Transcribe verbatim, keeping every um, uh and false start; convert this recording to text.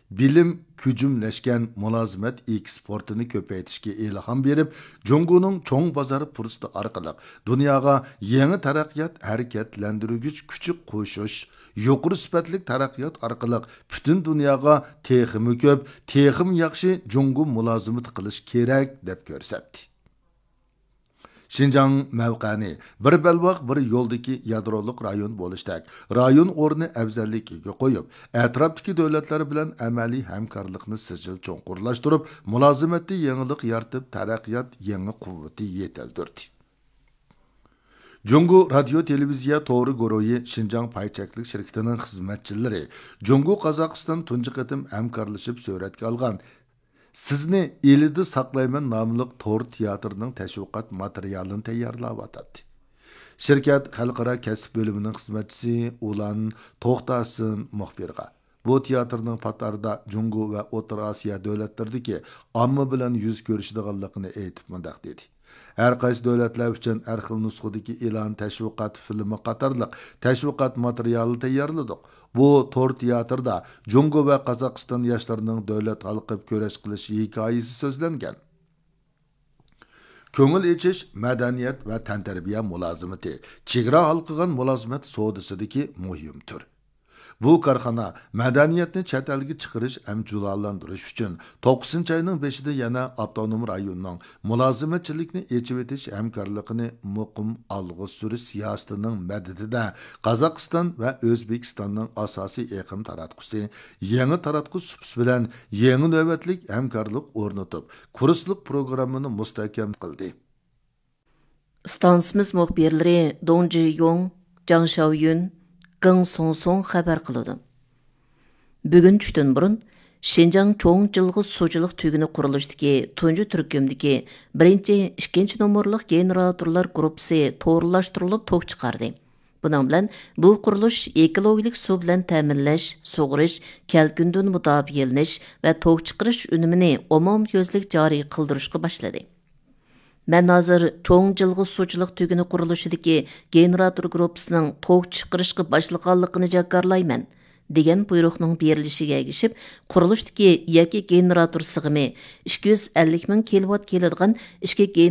بىلىم كۈجۈملەشكەن مۇلازىمەت ئېكسپورتىنى كۆپەيتىشكە ئىلھام بېرىپ، جۇڭگونىڭ چوڭ بازار پۇرسىتى ئارقىلىق دۇنياغا يېڭى تەرەققىيات ھەرىكەتلەندۈرگۈچ كۈچى قوشۇش، يۇقىرى سۈپەتلىك تەرەققىيات ئارقىلىق پۈتۈن دۇنياغا تېخىمۇ كۆپ، تېخىمۇ ياخشى جۇڭگو مۇلازىمىتى قىلىش كېرەك، دەپ كۆرسەتتى. شىنجاڭ مەۋقەنى بىر بەلباغ، بىر يولدىكى يادرولۇق رايون بولۇشتەك رايون ئورنى ئەۋزەللىكىگە قويۇپ، ئەتراپتىكى دۆلەتلەر بىلەن ئەمەلىي ھەمكارلىقنى سىجىل چوڭقۇرلاشتۇرۇپ، مۇلازىمەتتە يېڭىلىق يارىتىپ، تەرەققىيات يېڭى قۇۋۋىتى يېتىلدۈردى. جۇڭگو رادىيو تېلېۋىزىيە تورى گۇرۇھى شىنجاڭ پاي چەكلىك شىركىتىنىڭ خىزمەتچىلىرى جۇڭگو قازاقىستان تۇنجى قېتىم ھەمكارلىشىپ سۈرەتكە ئالغان سىزنى ئىلىدا ساقلايمەن ناملىق تور تىياتىرىنىڭ تەشۋىقات ماتېرىيالىنى تەييارلاۋاتاتتى. شىركەت خەلقئارا كەسىپ بۆلۈمىنىڭ خىزمەتچىسى ئۇلان توختاسىن مۇخبىرغا، بۇ تىياتىرنىڭ پات ئارىدا جۇڭگو ۋە ئوتتۇرا ئاسىيا دۆلەتلىرىدىكى ئامما بىلەن يۈز كۆرۈشىدىغانلىقىنى ئېيتىپ مۇنداق دېدى: ھەر قايسى دۆلەتلەر ئۈچۈن ھەر خىل نۇسخىدىكى ئېلان، تەشۋىقات فىلىمى قاتارلىق تەشۋىقات ماتېرىيالى تەييارلىدۇق. بۇ تور تىياتىردا جۇڭگو ۋە قازاقىستان ياشلىرىنىڭ دۆلەت ھالقىپ كۈرەش قىلىش ھېكايىسى سۆزلەنگەن. كۆڭۈل ئېچىش، مەدەنىيەت ۋە تەنتەربىيە مۇلازىمىتى، چېگرا ھالقىغان مۇلازىمەت سودىسىدىكى مۇھىم تۈر. بۇ كارخانا مەدەنىيەتنى چەت ئەلگە چىقىرىش ھەم جۇلالاندۇرۇش ئۈچۈن توققۇزىنچى ئاينىڭ بېشىدا يەنە ئاپتونوم رايوننىڭ مۇلازىمەتچىلىكنى ئېچىۋېتىش ھەمكارلىقىنى مۇقىم ئالغا سۈرۈش سىياسىتىنىڭ مەدىتىدە قازاقىستان ۋە ئۆزبېكىستاننىڭ ئاساسىي ئېقىم تاراتقۇسى، يېڭى تاراتقۇ سۇپىسى بىلەن يېڭى نۆۋەتلىك ھەمكارلىق ئورنىتىپ، كۇرسلۇق پروگراممىنى مۇستەھكەم قىلدى. ئىستانسىمىز مۇخبىرلىرى دۇڭ جىيۇڭ، جاڭ شياۋيۈن، گېڭ سۇڭسۇڭ خەۋەر قىلىدۇ. بۈگۈن چۈشتىن بۇرۇن، شىنجاڭ چوڭ جىلغا سۇچىلىق تۈگۈنى قۇرۇلۇشىدىكى تۇنجى تۈركۈمدىكى بىرىنچى، ئىككىنچى نومۇرلۇق گېنېراتورلار گۇرۇپپىسى تورلاشتۇرۇلۇپ توك چىقاردى. بۇنىڭ بىلەن بۇ قۇرۇلۇش ئېكولوگىيەلىك سۇ بىلەن تەمىنلەش، سۇغىرىش، كەلكۈندىن مۇداپىئەلىنىش ۋە توك چىقىرىش ئۈنۈمىنى ئومۇميۈزلۈك جارى قىلدۇرۇشقا باشلىدى. مەن ھازىر چوڭ جىلغا سۇچىلىق تۈگۈنى قۇرۇلۇشىدىكى گېنېراتور گۇرۇپپىسىنىڭ توك چىقىرىشقا باشلىغانلىقىنى جاكارلايمەن، دېگەن بۇيرۇقنىڭ بېرىلىشىگە ئەگىشىپ، قۇرۇلۇشتىكى يەككە گېنېراتور سىغىمى ئىككى يۈز ئەللىك مىڭ كىلوۋات كېلىدىغان ئىككى